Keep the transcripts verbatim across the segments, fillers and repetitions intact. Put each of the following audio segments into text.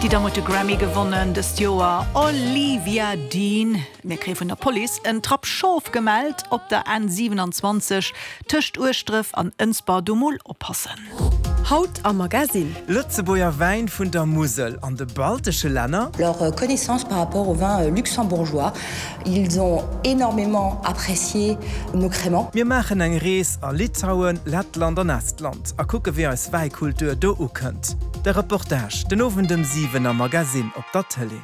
Déi Damm huet de Grammy gewonnen dëst Joer, Olivia Dean. Mir kréie vun der Police en Trapp Schof gemellt op der N siewenundzwanzeg tëscht Ueschdref an Ënsber, do mol oppassen. Haut am Magasinn. Lëtzebuerger Wäin vun der Musel an de baltesche Länner. Leur connaissance par rapport au vin luxembourgeois. Ils ont énormément apprécié nos crémants. Mir maachen eng Rees a Litauen, Lettland an Estland a kucke wéi eis Wäikultur do ukënnt. De Reportage den Owend ëm siwen am Magasinn op der Tëlee.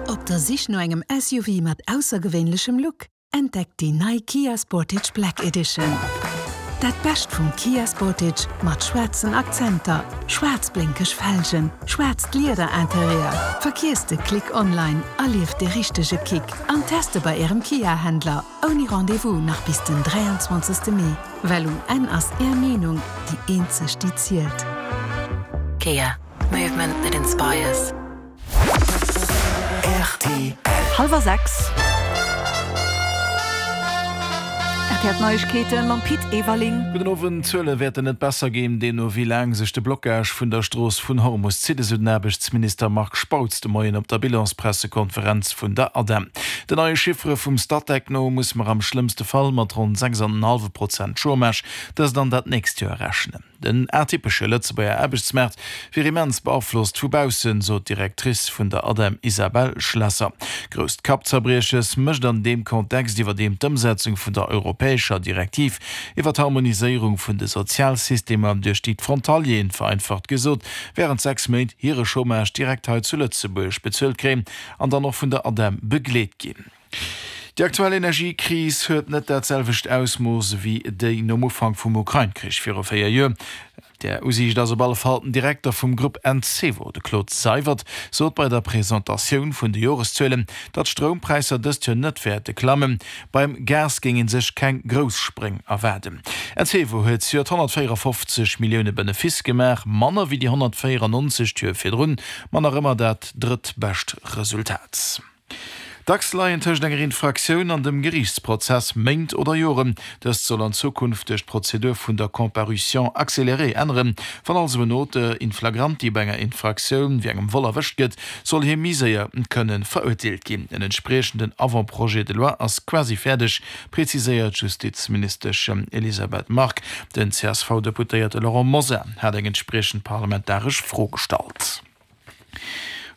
Op der Sich no engem S U V mat aussergewéinlechem Look? Entdeckt déi nei Kia Sportage Black Edition. Dat Bescht vum Kia Sportage mat schwaarzen Akzenter, schwaarz blénkeg Felgen, schwaarzt Liederinterieur. Verkiesst de Klick online, erlieft de richtege Kick an teste bei ärem Kia-Händler. Ouni Rendez-vous nach bis den dräianzwanzegste Mee. Well um Enn ass är Meenung déi eenzeg déi zielt. Kia. Movement that inspires. R T L. Hallwer sechs. R T L Neiegkeete mam Pit Everling. Gudden Owend. D'Zuele wäerten net besser ginn, deemno wéi laang sech de Blockage vun der Strooss vun Hormus zitt, esou den Aarbechtsminister Marc Spautz de Moien op der Bilanspressekonferenz vun der ADEM. Den neie Chiffere vum Statec no muss mer am schlëmmste Fall mat ronn sechs an en hallwe Prozent Chômage dëst an dat nächst Joer rechnen. Den atypesche Lëtzebuerger Aarbechtsmaart wier immens beaflosst vu baussen, sot d'Directrice vun der ADEM Isabelle Schlesser. Grousst Kappzerbrieches mécht an deem Kontext iwwerdeem d'Ëmsetzung vun der europäescher Direktiv iwwer d'Harmoniséierung vun de Sozialsystemer, duerch déi d'Frontalieren, vereinfacht gesot, wärend sechs Méint hire Chômage direkt hei zu Lëtzebuerg bezuelt kréien an dann och vun der ADEM begleet ginn. Déi aktuell Energiekris huet net dat selwecht Ausmooss ewéi déi nom Ufank vum Ukrain-Krich viru véier Joer. Där Usiicht ass op alle Fall den Direkter vum Grupp Encevo, de Claude Seywert, sot bei der Presentatioun vun de Joreszuelen, datt d'Stroumpräisser dëst Joer net wäerte klammen. Beim Gas géing ee sech keng grouss Spréng erwaarden. Encevo huet zejoert honnertvéierafofzeg Millioune Benefice gemaach, manner wéi déi honnertvéierannonzeg d'Joer virdrun, ma nach ëmmer dat drëttbescht Resultat. Dacks leien tëscht enger Infraktioun an dem Geriichtsprozess Méint oder Joren. Dëst soll an Zukunft duerch d'Prozedur vun der Comparution accélérée änneren. Wann also en Auteur in flagranti bei enger Infraktioun wéi engem Vol erwëscht gëtt, soll hie méi séier kënne verurteelt ginn. En entspriechenden Avant-projet de loi ass quasi fäerdeg, preziséiert d'Justizministesch Elisabeth Margue. Den C S V-Deputéierte Laurent Mosar hat eng entspriechend parlamentaresch Fro gestallt.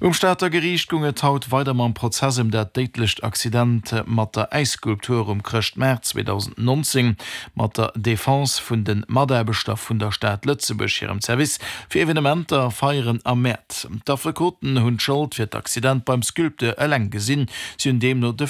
Um Stater Geriicht goung et haut weider mam Prozess ëm dat déidlecht Accident mat der Äisskulptur um Chrëschtmaart zweedausendnonzéng. Mat der Defense vun de Mataarbechter vun der Stad Lëtzebuerg hirem Service fir Evenementer, Feieren a Mäert. D'Affekoten hunn d'Schold fir d'Accident beim Sculpteur eleng gesinn, si hunn deemno de